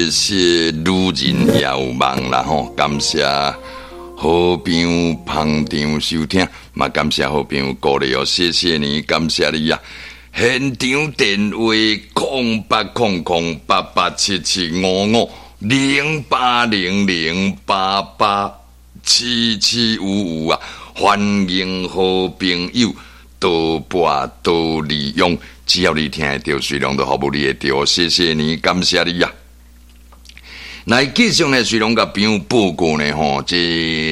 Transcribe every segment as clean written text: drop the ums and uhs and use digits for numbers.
謝女人也有夢啦吼，感謝好朋友捧場收聽，嘛感謝好朋友鼓勵哦，謝謝你，感謝你啊！現場電話0800887755，0800887755啊！歡迎好朋友多撥多利用，只要你聽會著，水龍都服務你會著，謝謝你，感謝你啊！來繼續呢，水龍共朋友報告呢，吼，這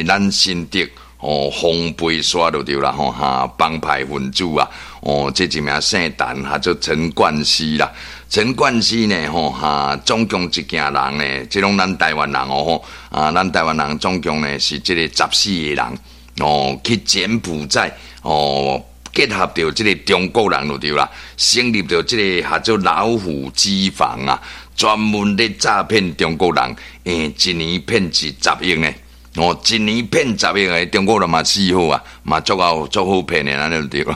咱新竹吼風飛沙就對啦，吼哈幫派分子啊，哦，這一名姓陳，號做陳冠希啦。陳冠希呢，吼哈，總共一家人呢，這攏咱台灣人哦，吼啊，咱台灣人總共呢是這個14個人哦，去柬埔寨哦，結合著這個中國人就對啦，成立著這個號做老虎機房啊。專門咧詐騙中國人，一年騙10億呢，哦，一年騙十億的中國人嘛死好啊，嘛足夠足好騙的，按呢就對囉。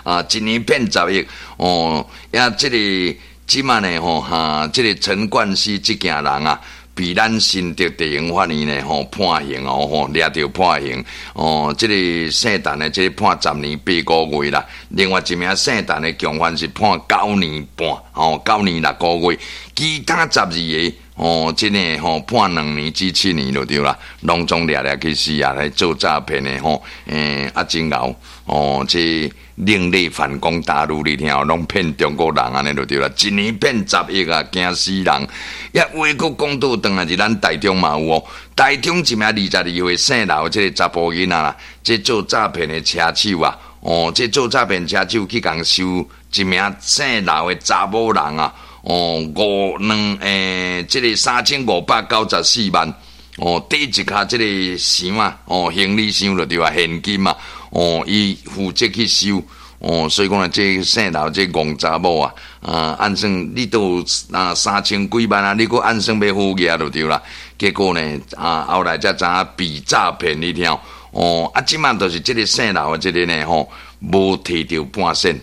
啊，一年騙十億，哦，呀，這個這馬呢，吼哈，這個陳冠希這家人啊，被咱新竹地方法院呢，吼判刑哦，吼掠著判刑哦，這個姓陳的這個判10年8個月啦，另外一名姓陳的共犯是判9年半，哦，9年6個月，其他12個哦，這個吼判2年至7年就對啦，攏總掠掠去死啊，來做詐騙的吼，啊真𠢕哦，這另類反攻大陸你聽，攏騙中國人按呢就對啦，一年騙十億啊，驚死人！也話閣講倒轉來是咱台中嘛有哦，台中一名22歲姓劉這個查埔囡仔啦，這做詐騙的車手啊，哦，這做詐騙車手去共收一名姓劉的查某人啊，哦，五兩這個3594萬，哦，綴一跤這個箱啊，哦，行李箱就對啊，現金啊。哦，伊負責去收，哦，所以講呢，這姓劉這戇查某啊，啊，按算你都有啊三千幾萬啊，你閣按算欲好額就對啦。結果呢，啊，後來才知影被詐騙，你聽，哦，啊，這馬就是這個姓劉的這個呢，吼，無提著半仙，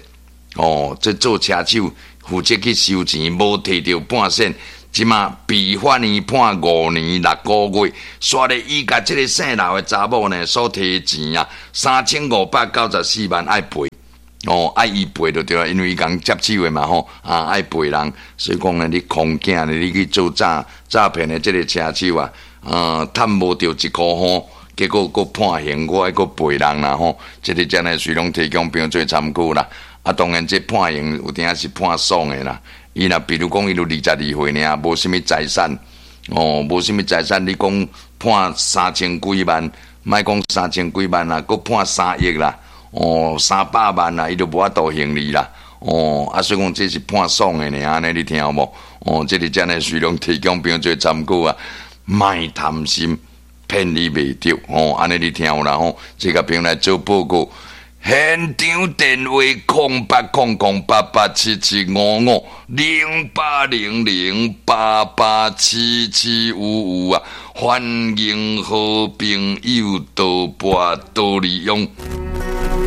哦，這做車手負責去收錢，無提著半仙。這馬被法院判5年6個月，煞咧伊共這個姓劉的查某呢所提錢啊，3594萬愛賠，哦，愛伊賠就對啦，因為伊共接手的嘛吼，啊愛賠人，所以講呢，你空囝呢，你去做詐騙的這個車手啊，趁無著一箍吼，結果閣判刑，閣愛閣賠人啦吼，這個真的隨攏提供朋友做參考啦。啊，當然這判刑有當時是判爽的啦。伊若比如講，伊就22歲爾，無啥物財產，哦，無啥物財產，你講判三千幾萬，莫講三千幾萬啦，閣判3億啦，哦，300萬啦，伊就無法度還你啦，哦，啊，所以講這是判爽的爾，按呢你聽有無？哦，這個真的隨攏提供朋友做參考啊，莫貪心，騙你袂著，哦，按呢你聽有啦吼，這個朋友來做報告。現場電話0800887755，0800887755啊！歡迎好朋友多撥多利用。